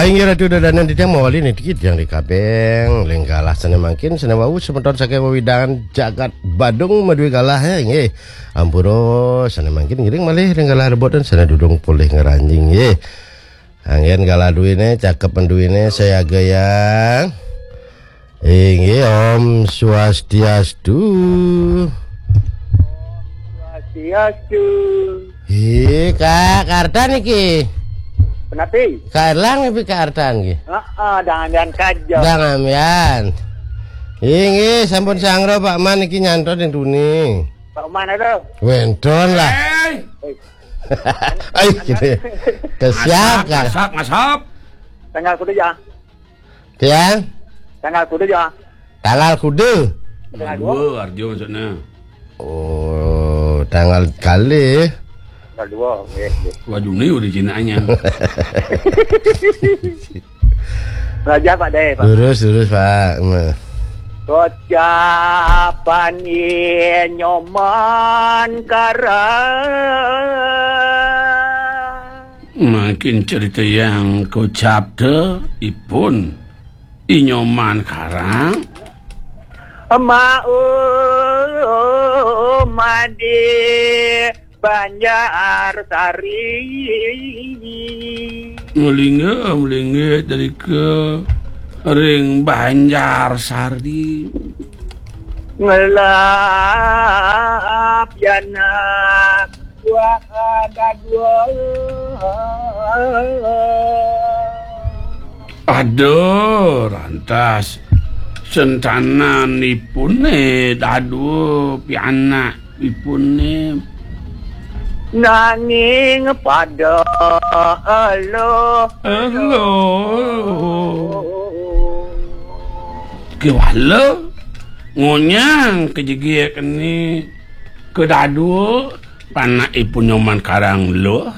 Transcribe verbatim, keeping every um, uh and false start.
Inggih Ratu Dadanan titiang mawali niki titiang ri Kabéng, ring galah sané mangkin sané wau semeton saking wewidangan jagat Badung madué galah ya, inggih. Ampura sané mangkin ngiring malih ring galah rebotan sané durung polih ngranjing nggih. Anggén galah duéné, cakep duéné, sayaga yang. Inggih, Om Swastiastu. Swastiastu. Ih, Kak Kartan iki. Penapi? Kak Erlang iki Kak Artan iki. Heeh, dangan-dangan kaja. Dang ambian. Inggih, sampun sanggra Pak Man iki nyantos ning tuni. Pak Man ada? Wénten lah. Ai, gitu. Kesiap, Kak. Ngasap, ngasap. Tanggal kudu ya. Tiang? Tanggal kudu ya. Tanggal kudu. Tanggal dua. Dua, arjo maksudnya. Oh, tanggal kali. Tanggal dua, nggih, nggih. Wah, Juni udah Cinanya. Belajar, Pak Dé, Pak. Lurus, lurus, Pak. Nah. Kocapan Nyoman Karang. Mangkin cerita yang kocap te ipun I Nyoman Karang. Mau madi Banjar Sari. Ngelinga, melinggih dari ke ring Banjar Sari. Ngelap yana wah ada dua. Ada rantas sentanan ipune dadua pianak ipune. Nanging pada elo. Elo. Kewala ngonyang kejegek ni kedadua panak ipun Nyoman Karang lo.